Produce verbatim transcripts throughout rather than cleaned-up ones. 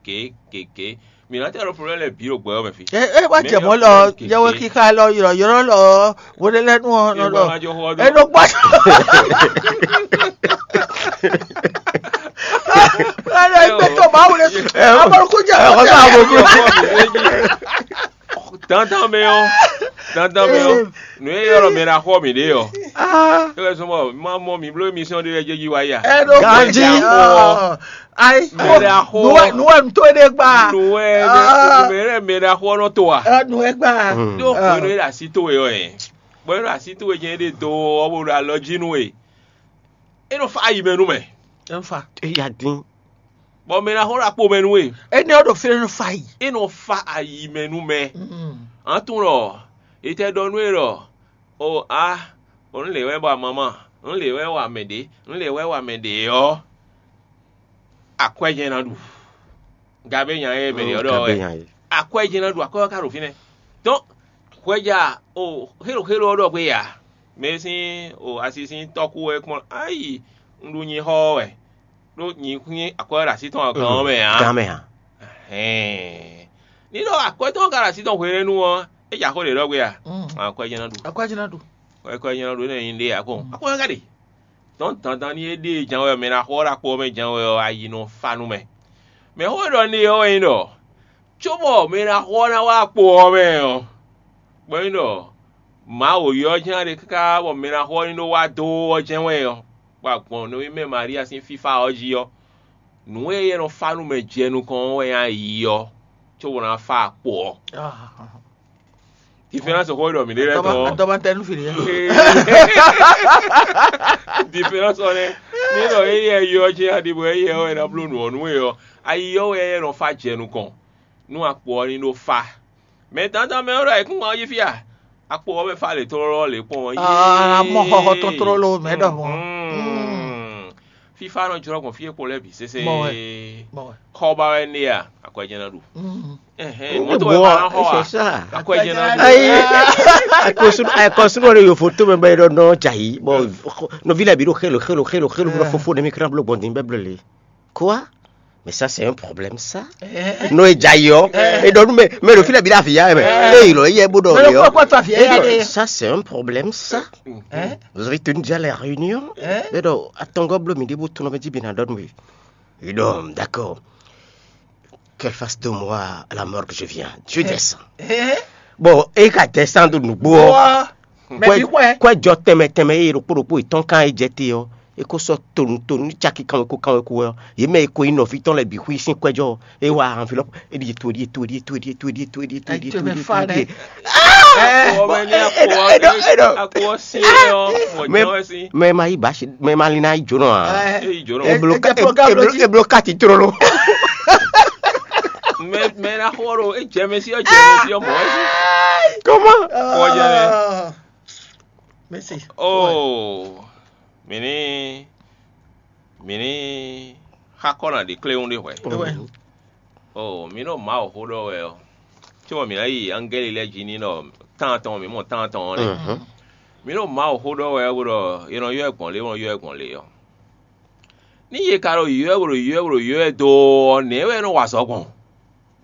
ké ké ké. Mǐ ná tɛ́ ɖo problème lɛ́ɛ bǐ ɖo gbɛ ɔ́ mɛ fí. E e wá jɛ mɔ̌ lɔ, yɛwɛ kíká lɔ, ylɔ̌ylɔ́ lɔ, hwenɛ́lɛ́nu ɔ́ nɔ lɔ. E nɔ gbɔ. Ala ìgbé tó máa wulẹ̀. Amọ̀rúkú jẹ́ ọ̀sán. Dandan mɛ ɔ́, dandan mɛ ɔ́, nǔ e ylɔ́ mɛ ná xɔ mǐ ɖe ɔ́. É wɛ zɔ́n bɔ má mɔ mǐ bló émission ɖé lɛ́ɛ jɛjí wá ya. Ganji. Ayi. Mɛ ɖe axo. Nú wɛ nú wɛ nú tó ɖe gba. Nú wɛ mɛ ɖe mɛ ɖe axo ɔ́ nɔ to a. Nú wɛ gba. Ɖó hwenu e ɖo así towe ɔ́ ɛ, bɔ e ɖo así towe jɛ́n ɖe do ɔ́ bó ɖo alɔ jí nú we. É nɔ fa ayi mɛ nú mɛ. Ɛnfa. Eya dín. Bɔ mɛ ná xɔ ɖo akpo mɛ nú we. Énɛ́ ɔ́ ɖo fínɛ́ nɔ fa yi. É nɔ fa ayi mɛ nú mɛ. An tunwun ɖɔ, è tɛ ɖɔ nú we ɖɔ, o a, o nǔ lě wɛ wa mamá, nǔ lě wɛ wa mɛ ɖě, nǔ lě wɛ wa mɛ ɖě ɔ́, akwɛ́ jɛ́n ná ɖu. Gabé nya e mɛ ɖě ɔ́ ɖɔ wɛ. Akwɛ́ jɛ́n ná ɖu, akwɛ́ ɔ́ ka ɖo fínɛ́. Dɔn hwɛja o xélo xélo ɔ́ ɖɔ gbé ya. Mɛ sín o asi sín tɔ́kú wɛ kpɔ́n ayi un ɖu nyi xɔ ɔ́ wɛ. Ɖó nyi xwín akwɛ́ ɖo así tɔn gán ɔ́ mɛ ǎ. Gán mɛ ǎ. Hɛn. Ní ɖɔ akwɛ́ tɔn ka ɖo así tɔn hwenɛ́nu ɔ́, é jɛ axó ɖě ɖɔ gbé a? Akwɛ́ jɛ́n ná ɖu. Akwɛ́ jɛ́n ná ɖu. Akwɛ́ jɛ́n ná ɖu énɛ́ nyi ɖe ǎ kɔn. Akwɛ́ ka ɖe. Tɔn dandan ní é ɖée ján wɛ mɛ ná xɔ ɖo akpo ɔ́ mɛ ján wɛ ɔ́, ayi nɔ fa nú mɛ. Mɛ xó e ɖɔ n'i ɔ́ wɛ nyí ɖɔ, cóbɔ mɛ e ná xɔ ɔ́ ná wá akpo ɔ́ mɛ ɔ́, bɔ é nyí ɖɔ Mawu ylɔ́ jɛ́n ɖe káká bɔ mɛ e ná xɔ ɔ́ ní ɖó wá dó ɔ́ jɛ́n wɛ ɔ́, bɔ agbɔ̌n nɔví mɛ Maria sín fífá ɔ́ jí ɔ́, nǔ e é nɔ fá nú mɛ jɛ nukɔn ɔ́ wɛ nyí ayi ɔ́, cóbɔ ná fá akpo ɔ́. Difɛ́nsi xó e ɖɔ mǐ ɖe lɛ́ɛ tɔn ɔ́. Dɔmantɛnu fi ɖe. Difɛ́nsi ɔ́ nɛ́. Ní ɖɔ éyɛ́ ylɔ́ jɛ́n aɖi bɔ éyɛ́ ɔ́ wɛ ná bló nǔ ɔ́ nú we ɔ́, ayi ɔ́ wɛ é nɔ fá jɛ nukɔn nú akpo ɔ́ ní ɖó fá. Mɛ dandan mɛ ɔ́ ɖo ayǐkúngban ɔ́ jí fí a? Akpo ɔ́ mɛ fá lě tlóló lě kpɔ́n ɔ́. Aa, mɔ xɔxɔ tɔn tlóló mɛ ɖɔhun. Fífá nɔ jlɔ́ gbɔn fí e kpo lɛ́ɛ bǐ sésé. Mɔ wɛ. Mɔ wɛ. Xɔ ba wɛ née a? Akwɛ́ jɛ́n ná ɖu. Ɛhɛn, mɔ̌ to wɛ ma ná xɔ a? Akwɛ́ jɛ́n ná ɖu. Ayi, akɔsunu akɔsunu ɖe yovo to mɛ bɛ ɖɔ nɔ dza yi bɔ nɔvi lɛ bi ɖo xelo xelo xelo xelo bɔ fofo ne mi kra blo gbɔn din bɛ ble le. Quoi? Mais ça c'est un problème ça. No e dza yi ɔ. E ɖɔ nu mɛ mɛ ɖo fi lɛ bi ɖe avi ya mɛ. Eye lɔ eyɛ bo ɖɔ le ɔ. Ça c'est un problème ça. Vous avez tenu déjà la réunion? E ɖɔ atɔngɔ blo mi ɖe bo tunɔ mɛ ji bi na ɖɔ nu. E ɖɔ d'accord. Qu'elle fasse deux mois à la morgue, je viens. Je descends. Bon, e ka descend nugbo ɔ. Mɛ bi xwɛ. Kwɛ jɔ tɛnmɛ tɛnmɛ eye ɖokpó ɖokpó yětɔn kan e jɛ te ɔ, e ko sɔ tonu tonu ní caki kanweko kanweko wɛ ɔ, yě mɛ e ko nyí nɔví tɔn lɛ́ɛ bǐ xwí sín kwɛjɔ. E wa enveloppe, e ɖi to, e ɖi to, e ɖi to, e ɖi to, e ɖi to, e ɖi to, e ɖi to, e ɖi to, e ɖi to, e ɖi to. Mɛ ma yí basi, mɛ ma lin ná yi jónɔ a? E blo kati tlolo. Mɛ mɛ na xɔ ɖo e jɛ mɛ si ɔ jɛ mɛ si ɔ mɔ wɛ si. Comment? Kɔ jɛ mɛ. Mɛsi. Oh, mini mini xakɔ na ɖe kléwún ɖe hwɛ. Oh, mi nɔ Mawu xó ɖɔ wɛ ɔ. Tí wọn mi ná yi angɛli lɛ jí ní nɔ tán tɔn mi mɔ tán tɔn ɔ́ nɛ. Mi nɔ Mawu xó ɖɔ wɛ bó ɖɔ è nɔ ylɔ́ ɛ gbɔn lě, è nɔ ylɔ́ ɛ gbɔn lě ɔ́. Ní yě ka ɖo ylɔ́ ɛ bó ɖo ylɔ́ ɛ bó ɖo ylɔ́ ɛ dó ɔ́, nɛ̌ wɛ é nɔ wa azɔ̌ gbɔn?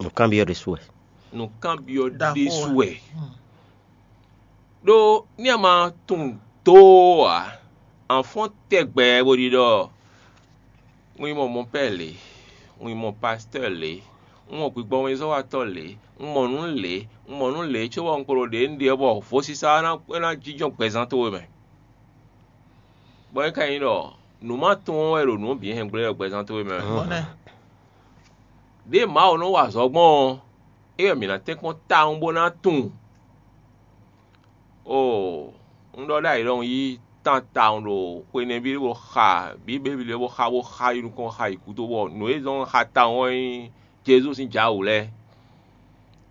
Nǔkanbyɔ́ ɖésú wɛ. Nǔkanbyɔ́ ɖésú wɛ. Ɖó ní a ma tunwun dó ǎ, a fɔ́n tɛgbɛ bó ɖiɖɔ un yi mɔ mɔpɛ́ lě, un yi mɔ pastɔ́ lě, un mɔ gbigbɔmɛzɔ́watɔ́ lě, un mɔ nǔ lě, un mɔ nǔ lě cóbɔ un kpo ɖo ɖě un ɖe ɔ́ bɔ vodísá ɔ́ ná jínjɔ́n gbɛzán towe mɛ. Bɔ é ka nyí ɖɔ nǔ ma tunwun wɛ ɖo nǔ bǐ hɛngblé wɛ gbɛzán towe mɛ. Ɖěe Mawu nɔ wa azɔ̌ gbɔn ɔ́, é wɛ mǐ ná tɛ́nkpɔ́n tawun bó ná tunwun. Oo, un ɖɔ ɖ'ayǐ ɖɔ un yí tán tawun ɖo xwe nɛbí bó xa Bíbélì lɛ́ɛ bó xa bó xa yi nukɔn xa yi gúdo bɔ nǔ e zɔ́n un xa tawun ɔ́ nyí Jezu sín jǎwǔ lɛ́ɛ.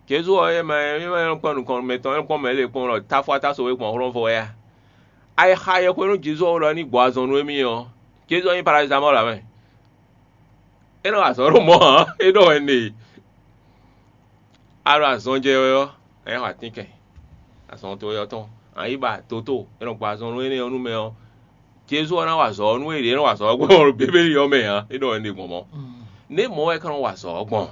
Jezu ɔ́, é ma é ma nyɔ́ kpɔ́n nukɔn mɛtɔn, é kpɔ́n mɛ lě kpɔ́n ɖɔ táfɔ́táso e gbɔn hlɔ́nvɔ wɛ a? Ayixa yɛhwenu Jezu ɔ́ ɖɔ ní gbɔ azɔn nú émí ɔ́, Jezu ɔ́ nyí parazamɔ́lu ǎ mɛ. É nɔ wa azɔ̌ ɖo mɔ̌ ǎ, é ɖɔ wɛ un ɖe. A ɖo azɔn jɛ wɛ ɔ́, a nǎ xɔ atínkɛn. Azɔn towe ɔ́ tɔn, a nǎ yi ba doto e nɔ gbɔ azɔn nú énɛ́ ɔ́ nú mɛ ɔ́, Jezu ɔ́ ná wa azɔ̌ ɔ́ nú é ɖě é nɔ wa azɔ̌ ɔ́ gbɔn ɖo Bíbélì ɔ́ mɛ ǎ, é ɖɔ wɛ un ɖe gbɔn mɔ̌. Nɛ̌ mɔ̌ wɛ é ka nɔ wa azɔ̌ ɔ́ gbɔn?